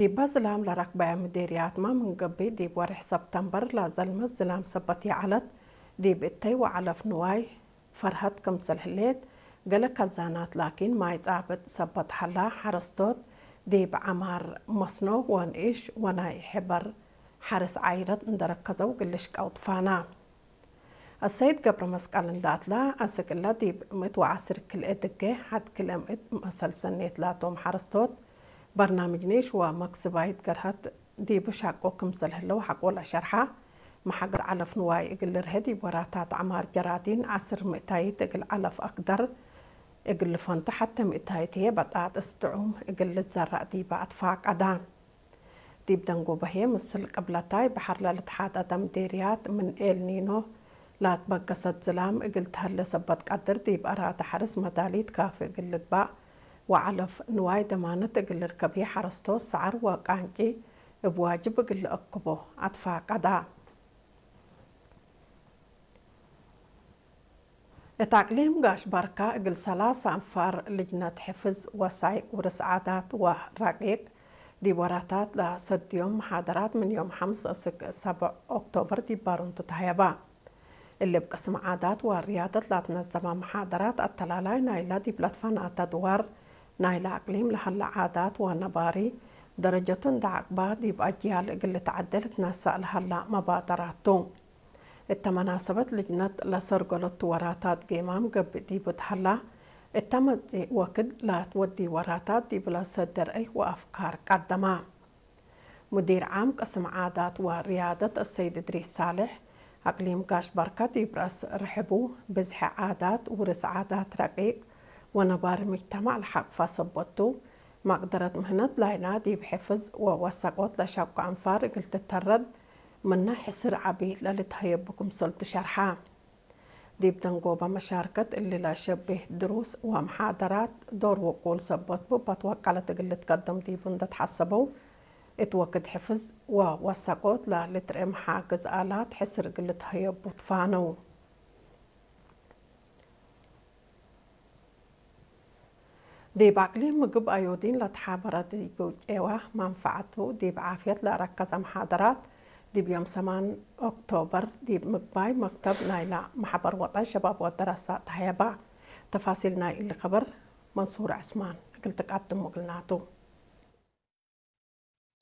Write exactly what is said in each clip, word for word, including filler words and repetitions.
ዲበ ዝላም ለረክበየ ምዴርያትመ ምን ገብእ፣ ዲብ ወሬሕ ሰብተምበር ለዘልመት ዝላም ሰበት ይዐለት፣ ዲብ እተይ ወዐለፍ ንዋይ ፈርሀት ክምሰል ህሌት፣ ገሌ ከዛናት ላኪን ማይ ጻብጥ ሰበት ሀላ፣ ሐረስቶት ዲብ ዐማር መስኖ ወንኢሽ ወናይ ሕበር ሐርስ ዓይረት እንደ ረከዘው እግል ልሽቀው ትፋና። አሰይድ ገብረ መስቀል እንደ አትላ፣ አስክ እለ ዲብ ምእት ወዐስር ክልኤ ድጌ ሐድ ክልኤ ምእት መሰል ሰኔት ላቶም ሐረስቶት፣ በርናምጅ ኒሽ ወመክስባይት ገርሀት ዲቡ ሻቆ ክምሰል ህለው ሐቆ ለሸርሐ፣ መሐገዝ ዐለፍ ንዋይ እግል ልርሄ ዲብ ወራታት ዐማር ጀራዲን ዐስር ምእታይት እግል ዐለፍ አክደር እግል ልፈንቱ ሐቴ ምእታይት ህዬ በጣጥስ ጥዑም እግል ልትዘረእ ዲበ አትፋቀዳ። ዲብ ደንጎበ ህዬ ምስል ቅብለታይ በሐር ለልትሓጠጠ ምዴርያት ምን ኤል ኒኖ ላትበገሰት ዝላም እግል ተህሌ ሰበት ቀድር ዲብ አራተ ሐርስ መዳሊት ካፊ እግል ልግባእ ወዐለፍ ንዋይ ደማነት እግል ልርከብ ህዬ ሐረስቶት ሰዐር ወቃንጪ እብ ዋጅብ እግል ልአክቦ አትፋቀዳ። እት አቅሊም ጋሽ ባርካ እግል ሰላሳ አንፋር ልጅነት ሕፍዝ ወሳይቅ ውርስ ዓዳት ወረቂቅ ዲብ ወራታት ለሰድዮም መሓደራት ምን ዮም ሐምስ እስክ ሰብዕ ኦክቶበር ዲብ ባሩንቱ ተሀየባ። እሊ እብ ቅስም ዓዳት ወርያደት ለትነዘመ መሓደራት አተላላይ ናይለ ዲብ ለትፈናተ ድዋር ናይለ አቅሊም ለሀለ ዓዳት ወነባሪ ደረጀቱ እንደ ዐቅባ ዲብ አጅያል እግል ልትዐዴ ልትነሰእ ለሀለ መባደራት ቱ። እተ መናሰበት ልጅነት ለሰርገለቱ ወራታት ጌማም ገብእ ዲቡ ተሀላ፣ እተ መጽእ ወክድ ለትወዲ ወራታት ዲብለ ሰደር እይ ወአፍካር ቀደማ። ሙዲር ዓም ቅስም ዓዳት ወርያደት አሰይድ እድሪስ ሳልሕ፣ አቅሊም ጋሽ ባርካ ዲብ ረአስ ርሕቡ፣ ብዝሐ ዓዳት፣ ውርስ ዓዳት ረቂቅ ወነባሪ ሙጅተማዕ ለሐቅፈ ሰበት ቱ፣ መቅደረት ምህነት ላይና ዲብ ሕፍዝ ወወሰቆት ለሸቁ አንፋር እግል ትተረድ ምነ ሕስር ዐቢ ለልትሀየቡ ክምሰልቱ ሸርሐ። ዲብ ደንጎበ መሻርከት እሊ ለሸቤህ ድሩስ ወመሓደራት ዶር ውቁል ሰበት ቡ በትወቀለት እግል ልትቀደም ዲቡ እንደ ተሐሰበው፣ እት ወክድ ሕፍዝ ወወሰቆት ለልትርኤ መሓግዝ አላት ሕስር እግል ልትሀየቡ ትፋነው። ዲብ አቅሊም ምግብ አዮዲን ለተሓበረ ዲብ ጨዋ መንፈዐቱ ዲብ ዓፍየት ለአረከዘ መሓደራት፣ ዲብ ዮም ሰማን ኦክቶበር ዲብ ምግባይ መክተብ ናይለ መሕበር ወጠን ሸባብ ወደረሰ ተሀየባ። ተፋሲል ናይ እሊ ከበር መንሱር ዐስማን እግል ትቀድም እግልናቱ።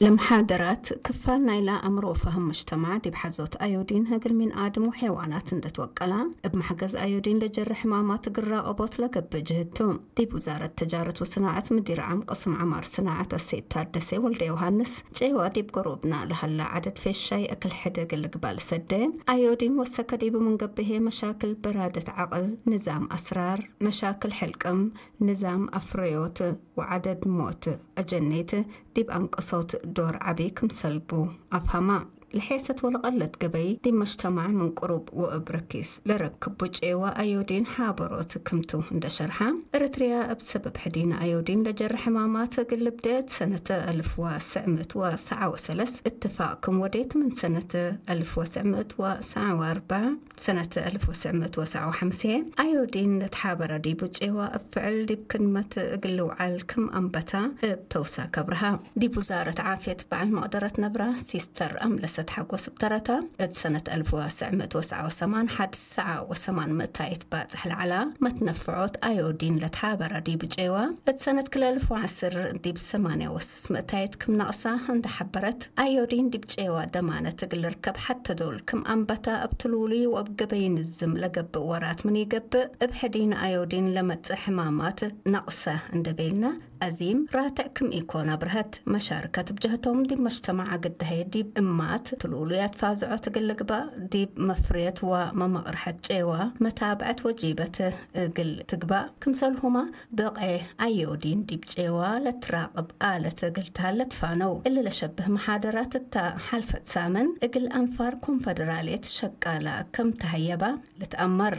ለመሓደራት፣ ክፋል ናይለ አምር ወፈህም ሙጅተማዕ ዲብ ሐዞት አዮዲን እግል ሚን አድም ወሐይዋናት እንደ ትወቀላ፣ እብ መሕገዝ አዮዲን ለጀሪ ሕማማት እግል ራቀቦት ለገብእ ጅህድ ቱ። ዲብ ውዛረት ተጃረት ወሰናዐት ምዲር ዓም ቅስም ዐማር ሰናዐት አሰይድ ታደሴ ወልደ ዮሃንስ፣ ጨዋ ዲብ ገሮብና ለሀላ ዐደድ ፌሻይ እክል ሕድ እግል ልግባእ ለሰዴ አዮዲን ወሰከ ዲቡ ምን ገብእ ህዬ መሻክል በራደት ዐቅል፣ ንዛም አስራር፣ መሻክል ሕልቅም፣ ንዛም አፍረዮት ወዐደድ ሞት አጀኔት ዲብ አንቅሶት ዶር ዐቢ ክምሰል ቡ አፍሀማ። ለሔሰት ወለቀለት ገበይ ዲብ መጅተማዕ ምን ቅሩብ ወእብ ረኪስ ለረክቡ ጨዋ አዮዲን ሓበሮት ክምቱ እንደ ሸርሐ፣ ኤረትርያ እብ ሰበብ ሕዲን አዮዲን ለጀረ ሕማማት እግል ልብዴ እት ሰነት አልፍ ወትሰዕ ምእት ወሰብዓ ወሰለስ እትፋቅ ክም ወዴት፣ ምን ሰነት አልፍ ወትሰዕ ምእት ወሰብዓ ወአርበዕ ሰነት አልፍ ወትሰዕ ምእት ወሰብዓ ወሐምሴ አዮዲን ለትሓበረ ዲቡ ጨዋ እብ ፍዕል ዲብ ክድመት እግል ልውዓል ክም አንበታ እብ ተውሳክ አብርሃ። ዲብ ውዛረት ዓፍየት በዐል መቅደረት ነብራ ሲስተር አምለሰት ሓጎስ እብ ተረታ፣ እት ሰነት አልፍ ወትሰዕ ምእት ወሰብዓ ወሰማን ሐድ ሰዓ ወሰማን ምእታይት ባጽሕ ለዐላ መትነፍዖት አዮዲን ለትሓበረ ዲቡ ጨዋ፣ እት ሰነት ክልኤ አልፍ ወዐስር ዲብ ሰማንያ ወስስ ምእታይት ክም ነቅሳ እንደ ሐበረት፣ አዮዲን ዲብ ጨዋ ደማነት እግል ልርከብ ሐቴ ዶል ክም አንበታ እብ ትሉሉይ ወእብ ገበይ ንዝም ለገብእ ወራት ምን ኢገብእ፣ እብ ሕዲን አዮዲን ለመጽእ ሕማማት ነቅሰ እንደ ቤልነ፣ አዚም ራትዕ ክም ኢኮን አብርሀት። መሻርከት እብ ጀህቶም ዲብ መጅተማዕ አግድ ህዬ ዲብ እማት ትሉሉያት ፋዝዖት እግል ልግባእ፣ ዲብ መፍርየት ወመመቅርሐት ጨዋ መታብዐት ወጂበት እግል ትግባእ፣ ክምሰልሁመ ብቅዔ አዮዲን ዲብ ጨዋ ለትራቅብ አለት እግል ተሀለ ትፋነው። እሊ ለሸብህ መሓደራት እተ ሐልፈት ሳምን እግል አንፋር ኮንፈደራልየት ሸቃላ ከም ተሀየባ ልትአመር።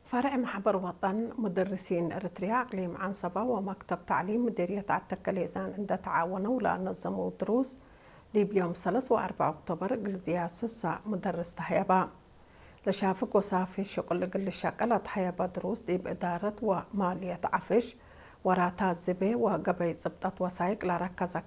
ፈርዕ መሕበር ወጠን ሙደርሲን ኤረትርያ አቅሊም ዐንሰበ ወመክተብ ተዕሊም ምዴርየት ዐድ ተከሌዛን እንደ ተዓወነው ለአነዘመው ድሩስ፣ ዲብ ዮም ሰለስ ወአርበዕ ኦክቶበር እግል ዝያድ ሱሳ ሙደርስ ተሀየበ። ለሻፍግ ወሳፊ ሽቁል እግል ልሸቀል አትሀየበ ድሩስ ዲብ እዳረት ወማልየት ዐፍሽ፣ ወራታት ዝቤ ወገበይ ጽብጠት ወሳይቅ ለረከዘ